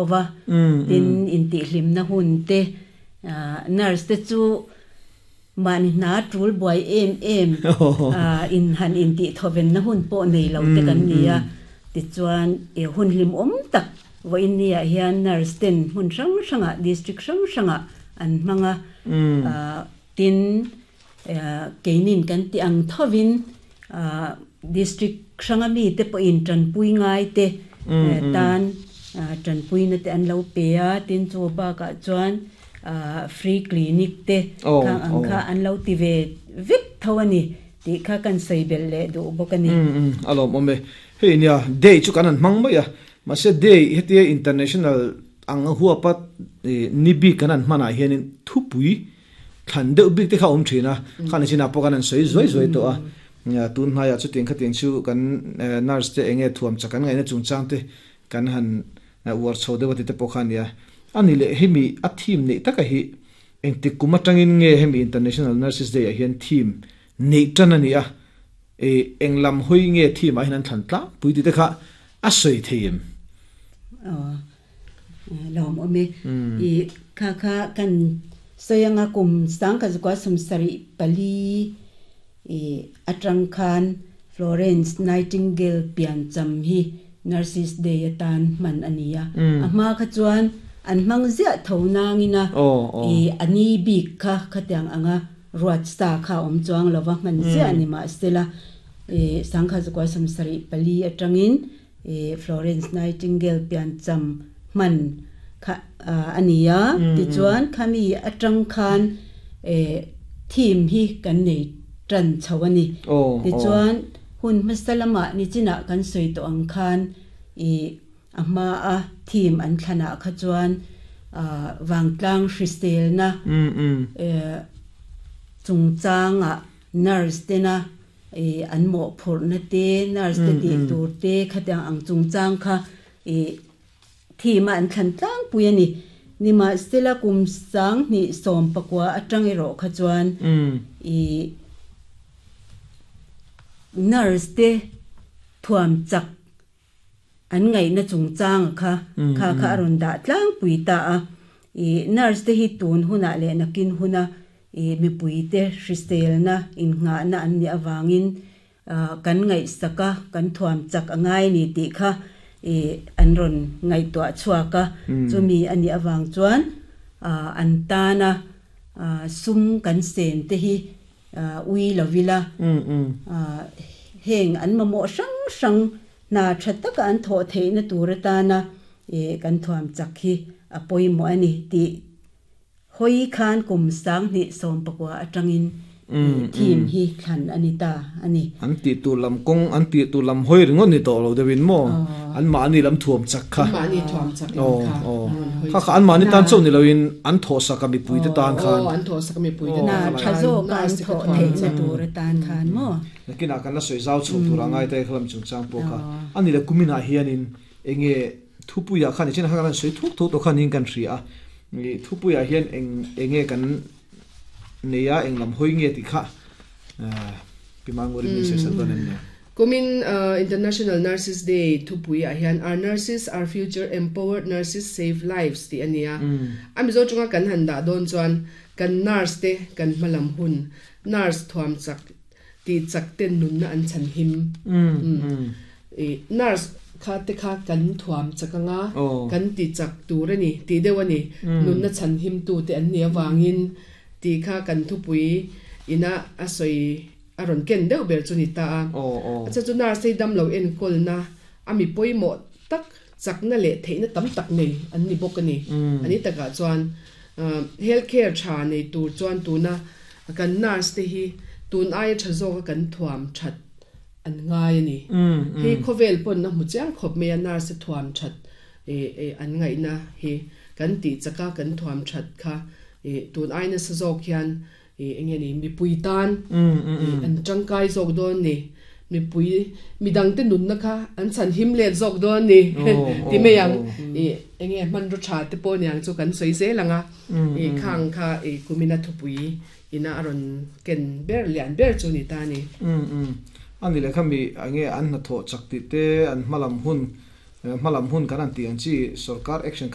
Va, tin intihhlimna hun te, nurse te chu mahni hna tul buai em em in han intihthawenna hun pawh nei lo te kan ni a, tichuan hun hlimawm tak vawiin niah hian nurse ten hmun hrang hrangah district hrang hrangah an hmang a, tin keinin kan tih ang thovin District hranga mite pawhin tanpui ngai te tan tanpuina te an lo pe a, tin chu bakah chuan free clinic te khang ang kha an lo ti ve vek tho a ni tih kha kan sawi belh leh duh bawk a ni. A lawmawm e. Hei nia, day chu kan han hmang mai a, mahse day hetia international ang a huapa ni bik kan han hmanah hianin thupui Thlan deuh bik te kha a awm thin a, khani chinah pawh kan han sawi zuai zuai tawh a, tun hnaiah chutiang khatiang chu kan nurse te enge thuam chak an ngaihna chungchang te kan han uar chho deuh a ti te pawh kha a nia. A ni leh hemi a theme neih taka hi engtik kum atangin nge hemi International Nurses Day ah hian theme neih tan a ni a, eng lam hawi nge theme ah hian an thlan tlangpui tih te kha a sawi thei em? Aw. Lawm awm e. I kha kha kan sawi anga kum sangkha zukua sawmsarih pali i atang khan Florence Nightingale piancham hi Nurses Day atan hman a ni a. A hma kha chuan an hmang ziah tho nangin a i a ni bik kha khatiang anga ruat sa kha a awm chuang lova hman ziah a ni mahsela i sangkha zukua sawmsarih pali atangin I Florence Nightingale piancham hman kha a ni a, tichuan khami atang khan theme hi kan nei tan chho a ni. Tichuan hun hmasa lamah nichinah kan sawi tawh ang khan i a hmaa theme an thlanah kha chuan vangtlang hriselna chungchangah nurse tena I an mawhphurhna te, nurse te tih tur te khatiang ang chungchang kha i theme a an thlan tlangpui a ni. Nimahsela kum sanghnih sawmpakua atang erawh kha chuan i nurse te thuam chak An ngaihna chungchanga kha kha kha a rawn dah tlangpui ta a. I nurse te hi tun hunah leh nakin huna i mipuite hriselna innghahna an nih avangin kan ngaihsak a, kan thuam chak a ngai a ni tih kha i an rawn ngaihtuah chhuak a. Chumi a nih avang chuan an tana sum kan sen te hi Ui lo ila, heng an mamawh hrang hrang hna tha taka an thawh theihna tur atana kan thuam chak hi a pawimawh a ni tih hawi khan kum sanghnih sawmpakua atangin theme hi thlan a ni ta a ni. An tih tur lam kawng, an tih tur lam hawi ringawt ni tawh lo deuhin maw? An mahni lam thuam chak kha. An mahni thuam chak lam kha. Kha kha an mahni tan chauh ni loin an thawhsak a mipuite tan khan. Aw, an thawhsak a mipuite tan khan. Tha zawka an thawh theihna tur atan khan maw? Nakinah kan la sawi zau chho tur a ngai ta e khalam chungchang pawh kha. A ni le kuminah hianin enge thupuiah khan nichin khan kan sawi thuk thuk tawh khan niin kan hria a. Thupuiah hian eng enge kan nei a eng lam hawi nge tih kha Pi Manguri min sawi sak dawn em ni? Kumin International Nurses Day thupui ah hian Our Nurses, Our Future, Empowered Nurses Save Lives tih a ni a. A Mizo chunga kan han dah dawn chuan kan nurse te kan hmalam hun, nurse thuam chak tih chak ten nunna an chhan him. Nurse kha te kha kan thuam chak anga kan ti chak tur a ni tih deuh a ni. Nunna chhan him tu te an nih avangin tih kha kan thupui ina a sawi A rawn ken deuh ber chu ni ta a. A chhan chu nurse hi damlo enkawlna a mi pawimawh tak, chakna leh theihna tam tak nei an ni bawk a ni. A ni takah chuan health care tha nei tur chuan tuna kan nurse te hi tun aia tha zawka kan thuam that an ngai a ni. Hei khawvel pawn a hmu chiang khawp mai a nurse te thuam that an ngaihna hi kan tih chaka kan thuam that kha tun ai nasa zawk hian I eng nge ni, mipui tan an tangkai zawk dawn ni, mipui midangte nunna kha an chhan him let zawk dawn ni ti mai ang. I eng nge hmanraw tha te pawh niang chu kan sawi zel ang a, i khang kha i kumina thupui ina a rawn ken ber lian ber chu ni ta ni. A ni leh kha mi eng nge an hnathawh chak tih te, an hmalam hun Hmalam hun kan an ti ang chi sarkar action.